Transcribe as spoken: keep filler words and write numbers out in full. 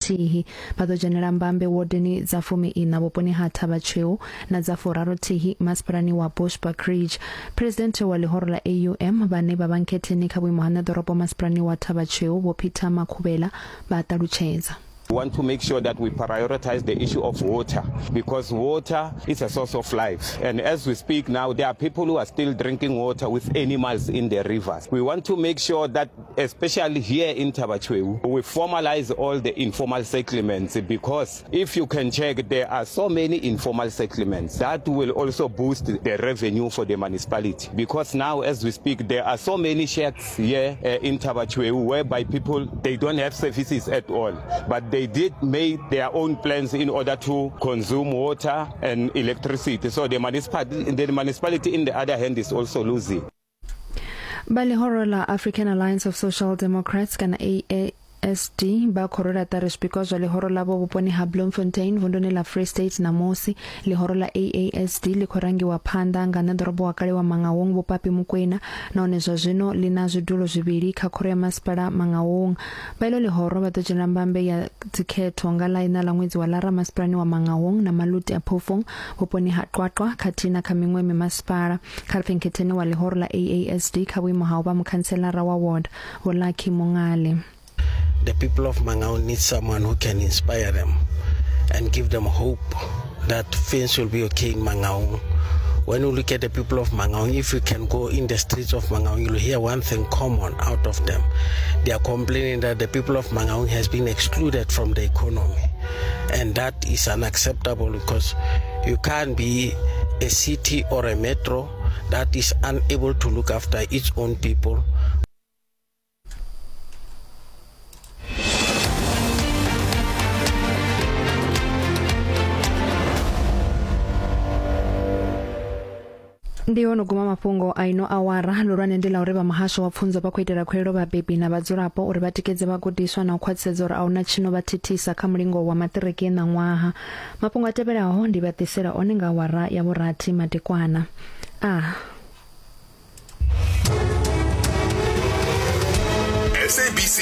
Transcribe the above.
nthihi. Vha ḓo dzhenela mbambe wodeni dza fumi ina vhuponi ha Thaba Chweu na dza furaru thihi masipalani wa Bushbuckridge. Presidente wa ḽihoro ḽa A U M vhane vha vha nkhetheni kha vhuimo ha ṋeḓorobo masipalani wa Thaba Chweu Vho Peter Makhubela vha ṱalutshedza. We want to make sure that we prioritize the issue of water, because water is a source of life. And as we speak now, there are people who are still drinking water with animals in the rivers. We want to make sure that, especially here in Thaba Chweu, we formalize all the informal settlements, because if you can check, there are so many informal settlements. That will also boost the revenue for the municipality, because now, as we speak, there are so many shacks here uh, in Thaba Chweu whereby people, they don't have services at all, but they They did make their own plans in order to consume water and electricity. So the municipality, the municipality, in the other hand, is also losing. Vha ḽihoro ḽa African Alliance of Social Democrats kana A A S D vha khou rwela ṱari zwipikwa zwa ḽihoro ḽavho vhuponi ha Bloemfontein vunduni ḽa Free State ṋamusi. Ḽihoro ḽa A A S D ḽi khou rangiwa phanḓa nga ṋeḓorobo wa kale wa Mangaung Vho Papi Mokoena, nahone zwa zwino ḽi na zwidulo zwivhili kha khoro ya masipala Mangaung. Vha iḽo ḽihoro vha ḓo dzhenela mbambe ya dzikhetho nga ḽa iṋa ḽa ṅwedzi wa Lara masipalani wa Mangaung na Maluti a Phofung vhuponi ha Qwaqwa khathihi na kha miṅwe mimasipala. Kha ri nkhetheni wa ḽihoro ḽa A A S D kha vhuimo ha u vha mukhantselara wa ward Vho Lucky Mongale. The people of Mangaung need someone who can inspire them and give them hope that things will be okay in Mangaung. When you look at the people of Mangaung, if you can go in the streets of Mangaung, you'll hear one thing common out of them. They are complaining that the people of Mangaung has been excluded from the economy. And that is unacceptable, because you can't be a city or a metro that is unable to look after its own people. Ndi ho no guma mafhungo a ino awara. Lulwane ndi ḽa uri vha muhasho wa pfunzo vha khou itela khuwelelo vhabebi na vhadzulapo uri vha tikedze vhagudiswa na u khwaṱhisedza uri a huna tshino vha thithisa kha mulingo wa maṱiriki ṋaṅwaha. Mafhungo a tevhelaho ndi vha ḓisela one nga awara ya vhurathi madekwana. A S A B C